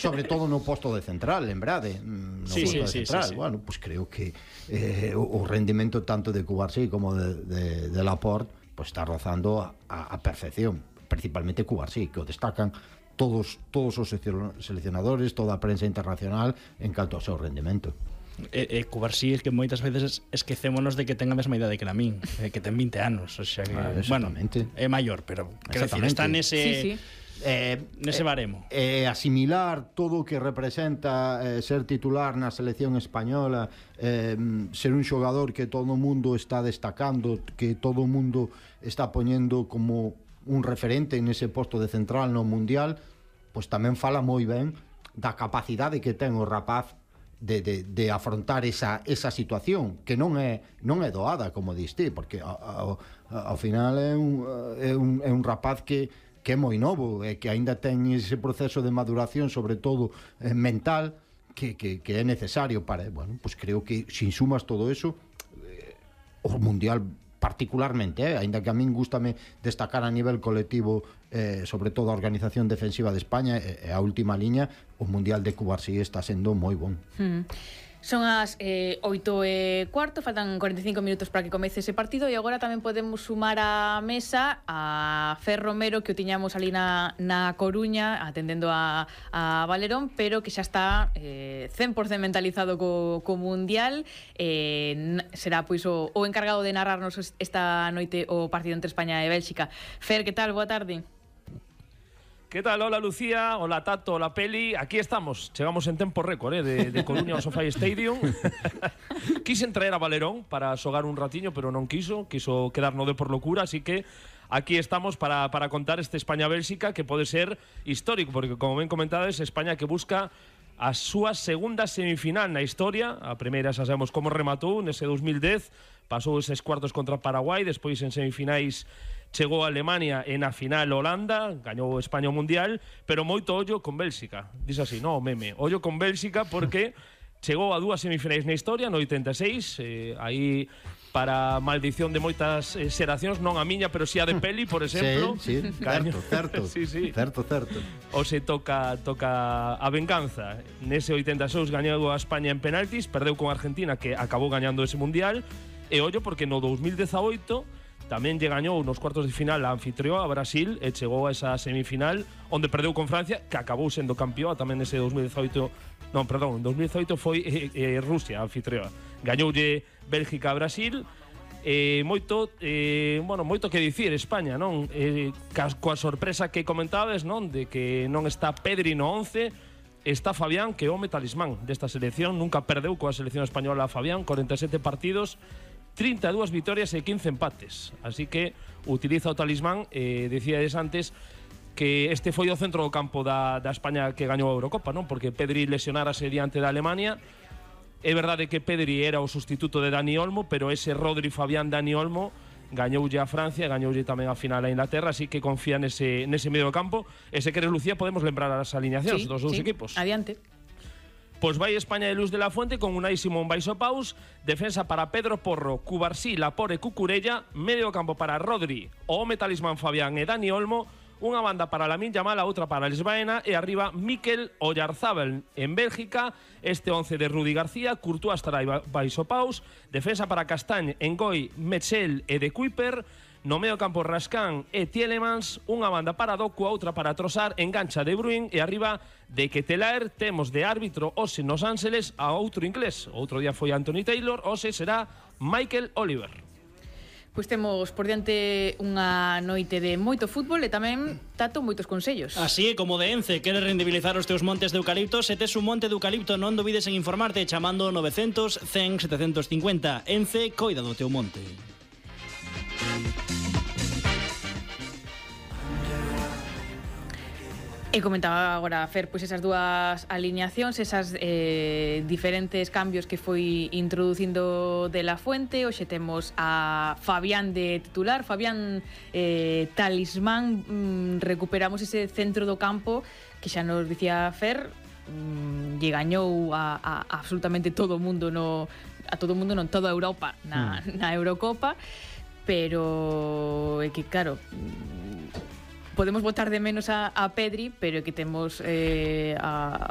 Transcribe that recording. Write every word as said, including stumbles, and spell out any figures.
sobre todo no posto de central, lembrade, no sí, posto sí, de sí, central. sí, sí. Bueno, pues creo que eh, o, o rendimento tanto de Cubarsí como de, de, de Laporte pues está rozando a, a, a perfección, principalmente Cubarsí, que o destacan todos todos os seleccionadores, toda a prensa internacional en canto ao seu rendimento. E, e Cubarsí é que moitas veces esquecémonos de que ten a mesma idade que a min, eh, que ten vinte anos, o sea que, ah, bueno, é maior, pero quero decir, está nese sí, sí. Eh, nese baremo. Eh, asimilar todo o que representa eh, ser titular na selección española, eh, ser un xogador que todo o mundo está destacando, que todo o mundo está poñendo como un referente nese posto de central no mundial, pois tamén fala moi ben da capacidade que ten o rapaz De, de, de afrontar esa, esa situación que non é non é doada, como diste, porque ao, ao final é un, é un, é un rapaz que, que é moi novo e que aínda ten ese proceso de maduración, sobre todo eh, mental, que, que, que é necesario para, bueno, pues creo que sin sumas todo eso, eh, o mundial particularmente, eh, aínda que a min gústame destacar a nivel colectivo, eh, sobre todo a organización defensiva de España e eh, a última liña, o mundial de Cubarsí está sendo moi bon. Hmm. Son as eh, oito e cuarto, faltan cuarenta e cinco minutos para que comece ese partido e agora tamén podemos sumar á mesa a Fer Romero, que o tiñamos ali na, na Coruña atendendo a, a Valerón, pero que xa está eh, cen por cento mentalizado co, co Mundial. Eh, será pois o, o encargado de narrarnos esta noite o partido entre España e Bélxica. Fer, que tal? Boa tarde. ¿Qué tal? Hola Lucía, hola Tato, hola Peli. Aquí estamos, chegamos en tempo récord, eh, de, de Coruña ao SoFi Stadium. Quisen traer a Valerón para xogar un ratiño, pero non quiso, quiso quedar no de por locura, así que aquí estamos para, para contar este España-Bélxica que pode ser histórico, porque como ben comentades, España que busca a súa segunda semifinal na historia. A primeira xa sabemos como rematou nese dos mil dez, pasou eses cuartos contra Paraguai, despois en semifinais chegou a Alemania e na final Holanda, gañou España o Mundial, pero moito ollo con Bélxica. Diz así, no, meme, ollo con Bélxica porque chegou a dúas semifinais na historia, no oitenta e seis, eh, aí para maldición de moitas eh, xeracións, non a miña, pero si a de Peli, por exemplo. Sí, sí, certo, certo. Sí, sí. Certo, certo. O se toca toca a venganza. Nese oitenta e seis gañou a España en penaltis, perdeu con Argentina, que acabou gañando ese Mundial, e ollo porque no dos mil dezaoito tamén lle gañou nos cuartos de final a anfitrión, a Brasil, e chegou a esa semifinal onde perdeu con Francia, que acabou sendo campeón tamén nese dos mil dezaoito. Non, perdón, en dos mil dezaoito foi eh, eh, Rusia a anfitrión. Gañoulle Bélgica a Brasil. Eh, moito, eh, bueno, moito que dicir España, non? Eh, coa sorpresa que comentabas, non? De que non está Pedri no once, está Fabián, que é o talismán desta selección, nunca perdeu coa selección española Fabián, cuarenta e sete partidos, trinta e dúas vitorias e quince empates. Así que utiliza o talismán. eh, Decíades antes que este foi o centro do campo da, da España que gañou a Eurocopa, non? Porque Pedri lesionarase diante da Alemania. É verdade que Pedri era o sustituto de Dani Olmo, pero ese Rodri, Fabián, Dani Olmo gañoulle a Francia, gañoulle tamén a final a Inglaterra, así que confía nese, nese medio do campo. E se queres, Lucía, podemos lembrar as alineacións sí, dos dous sí. equipos. Adiante. Pois vai España de Luz de la Fuente con Unai Simón baixo paus, defensa para Pedro Porro, Cubarsí, Laporte e Cucurella, medio campo para Rodri, o home talismán Fabián e Dani Olmo, unha banda para Lamine Yamal, a outra para Lisbaena, e arriba Mikel Oyarzábal. En Bélgica, este once de Rudi García, Courtois estará baixo paus, defensa para Castagne, Engoi, Metzel e De Kuiper, no medio campo Rascán e Tielemans, unha banda para Doku, a outra para Trossard, engancha De Bruyne, e arriba de Ketelaer temos de árbitro hoxe nos Ángeles a outro inglés. Outro día foi Anthony Taylor, hoxe será Michael Oliver. Pois temos por diante unha noite de moito fútbol e tamén, Tato, moitos consellos. Así é como de Ence, queres rendibilizar os teus montes de eucalipto? Se tes un monte de eucalipto, non dubides en informarte chamando novecientos, cen, setecientos cincuenta. Ence, coida do teu monte. E comentaba agora, Fer, pois esas dúas alineacións, esas eh, diferentes cambios que foi introducindo de la Fuente. Hoxe temos a Fabián de titular, Fabián eh, talismán. mm, recuperamos ese centro do campo que xa nos dicía Fer, mm, lle gañou a, a, a absolutamente todo o mundo no, a todo o mundo non, toda a Europa na, mm. na Eurocopa, pero é que claro, podemos botar de menos a, a Pedri, pero que temos eh, a,